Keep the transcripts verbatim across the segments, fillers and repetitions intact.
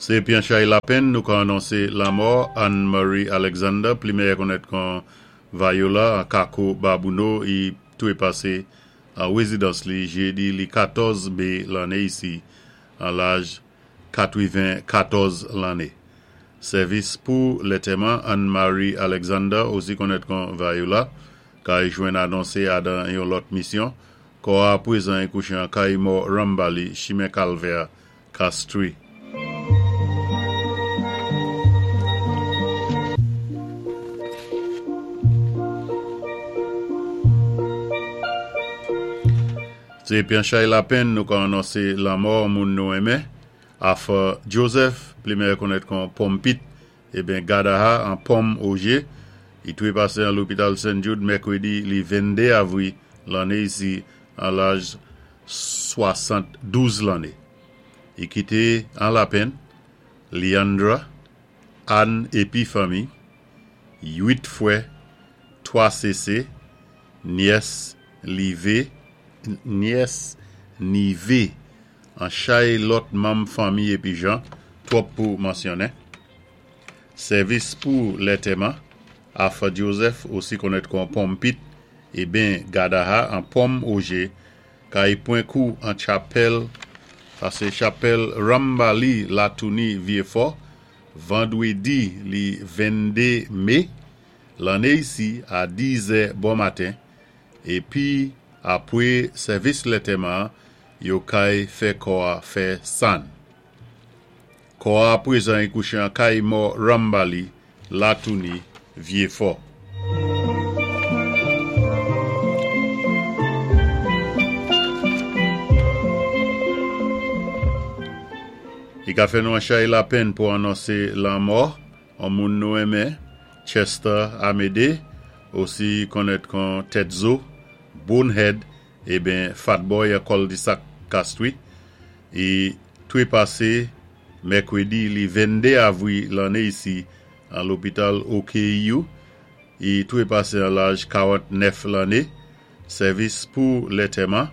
Sé épi an chay lapenn nou ka anonsé lanmò Anne-Marie Alexander, pli méyè konnèt kon Viola an Kako Babouno, i twé pasé an wézidans li jédi li katòz mé lanné isi an laj katwiven-katòz lanné. Sèvis pou lantèman Anne-Marie Alexander, osi konnèt kon Viola, kay jwenn anonsé adan yon lòt misyon, kò a pwézan i kouché an kay mò Rambali, chimen Kalvè, Castries. Sé épi an chay lapenn nou ka anonsé lanmò moun nou enmen, Arthur Joseph, pli méyè konnèt kon Pompit, eben Gadaha an Pom Auger, i twé pasé an lopital Saint Jude mèkwédi li venndé avwi lanné isi an laj swasant-douz lanné. I kité an lapenn, Leandra, Anne épi fanmi, uit fwè, twa sésé, nyès Livé, nyès Nivé, an chay lòt manm fanmi épi jan, twòp pou mansyonnen. Sèvis pou lantèman, Arthur Joseph, osi konnèt kon Pompit, eben Gadaha an Pom Auger, kay pwan kou an chapèl, sa sé chapèl Rambali Latouni Vieux-Fort, vandwédi li venndé mé, lanné isi a dizè bon maten, épi apwé sèvis lantèman, yo kay fè kò a fè sann. Kò a pwézan i kouché an kay mò Rambali Latouni Vieux-Fort. I ka fè nou an chay lapenn pou anonsé lanmò an moun nou enmen, Chester Amédée, osi konnèt kon Tetzo, Bonehead, eben Fatboy a Cul-de-Sac Castries, i twé pasé mèkwédi li venndé avwi lanné isi an lopital O K U, i twé pasé an laj karant-nèf lanné. Sèvis pou lantèman,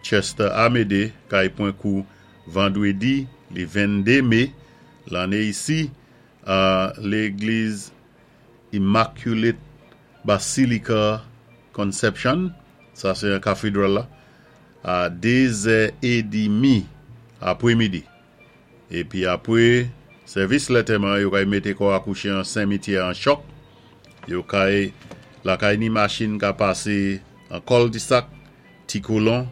Chester Amédée, kay pwan kou vandwédi li venndé mé lanné isi a légliz Immaculate Basilica Conception, sa sé an kathédral la, a dézè édmi apwémidi. Épi apwé sèvis lantèman, yo kay mété kò a kouché an simityè an Choc, yo kay lakay ni machin ka pasé an Cul-de-Sac, Ti Colon,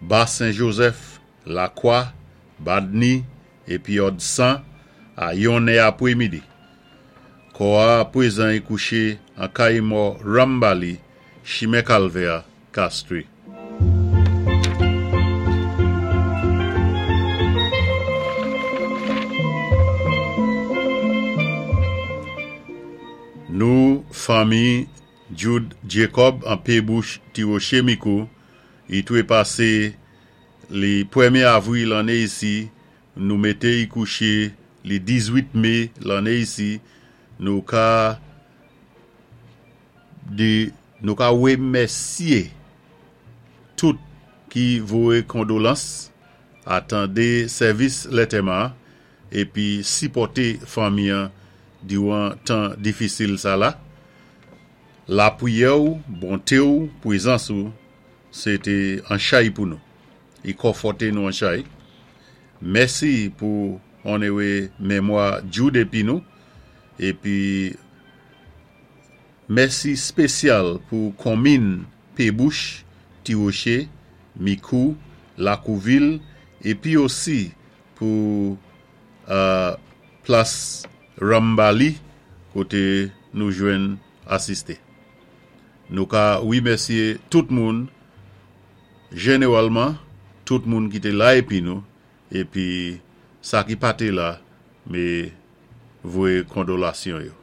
Bas Saint-Joseph, La Croix, Badni, épi Odsan a yonnè apwémidi. Kò a pwézan i kouché an kay mò Rambali, chimen Kalvè, Castries. Nou, fanmi Jude Jacob an Pébouche Tiroché Mikou, i twé pasé li pwémyé avwi lanné isi, nou mété i kouché li diz-uit mé lanné isi, nou ka di nou ka wémèsyé tout ki voyé kondolans, atandé sèvis lantèman épi sipòté fanmi an diwan tan difisil sa la. Lapwiyè ou, bonté ou, pwézans ou, sé té an chay pou nou. I konfòté nou an chay. Mèsi pou onoré mémwa Jude épi nou. Épi mèsi spésyal pou konmin Pébouche, Tiroché, Mikou, Lakouvil, épi osi pou euh, plas Rambali, koté nou jwenn asisté. Nou ka wimèsyé tout moun, jénéwalman, tout moun ki té la épi nou, épi sa ki pa té la, mé voyé kondolasyon yo.